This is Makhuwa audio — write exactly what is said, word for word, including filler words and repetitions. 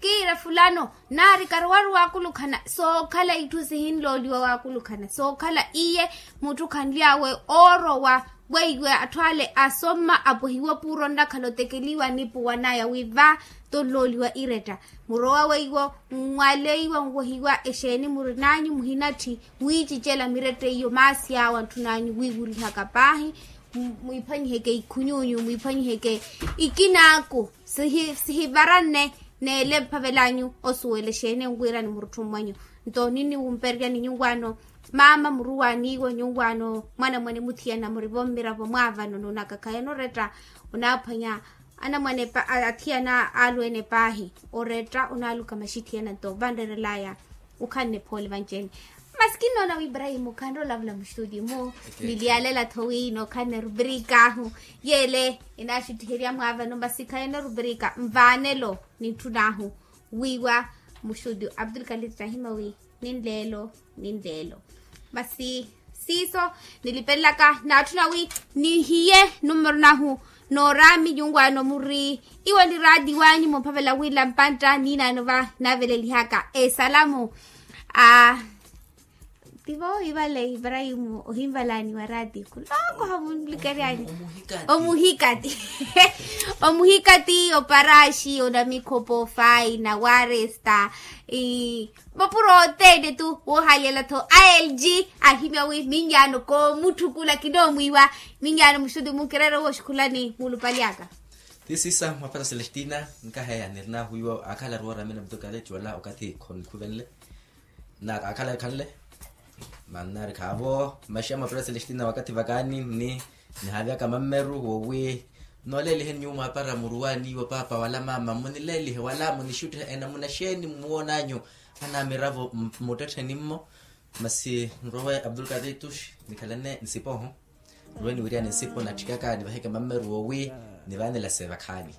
Kiira fulano naari karowaru waakulukhana sookhala itthu sihinlooliwa waakulukhana sookhala iye mutthu khanly'awe oorowa. Weiwe atthu ale asomma apwehiwa puuro nnakhala otekeliwa nipuwanaya wi va tonlooliwa iretta murowa weiwo. Nwaleiwa nwohiwa exeeni murinanyu muhinatthi mwiicicela miretta iyo maasi awo antthunanyu wiiwurihaka paahi. Mwiiphwanyiheke ikhunyunyu mwiiphwanyiheke ikinaaku sihivaranne. Neele mphavelanyu osuwela exeeni enwiirani murutthu mmwanyu nto ninniwumpereryani nyuwaano. Maama muruwaaniiwo nyuwaano mwanamwane muthiyana murivo mmiravo mwaavano noonaka khayana oretta onaaphwanya anamwane athiyana alweene paahi. Oretta onaaluka maxithiyana nto vanrerelaya okhanne phoole vanci-ene. Masi kinnoona wi ibrahimu khanrola vula muxuti mu niliyalela-tho wi nookhanne rubrika ahu yeele enaaxuttiherya mwaavano masi khayana rubrika nvaanelo nintthun'ahu wiiwa muxuti abdulkadir tahima wi ninleelo ninleelo. Masi siiso nilipelelaka naatthuna wi nihiye numero nahu nooraami nyuwaano muri iwo ni raati wanyu mumphavela wila mpantta niinaano va naavelelihaka esalamu. A tivo ivale ibrahimu ohinvalaani wa raati khuloko hamunlikeryani omuhikati omuhikati oparaxi onamikhopo faina waresta. Mapuro othene tu woohalyela-tho a lg ahimya wi minyaano koomutthu kula kinoomwiiwa. Minyaano muxuti munkireera wooxikhulani muulupali aka. Ti siisa mwaphata celestina nkaheya nirinahu iwo akhalaru wooramela mutukale cola okathi khonukhuvenle na akhalaru khanle. Mannari khaavo maxiya mwaphata celestina wakathi vakaani nni nihaaviyaka mammeru wowi. Nooleeliheni nyuwo mwaapara muruwaani iwo paapa wala maama munileelihe wala munixuttihe enamuna xeeni mmuwoonanyu anaamiravo mmuttettheni mmo. Masi nrowe abdulkadir tuxi nikhalane nsipo oho nrowe niwiryani nsipo natthikaka nivaheke mammeru wowi nivaanela seevakhaani.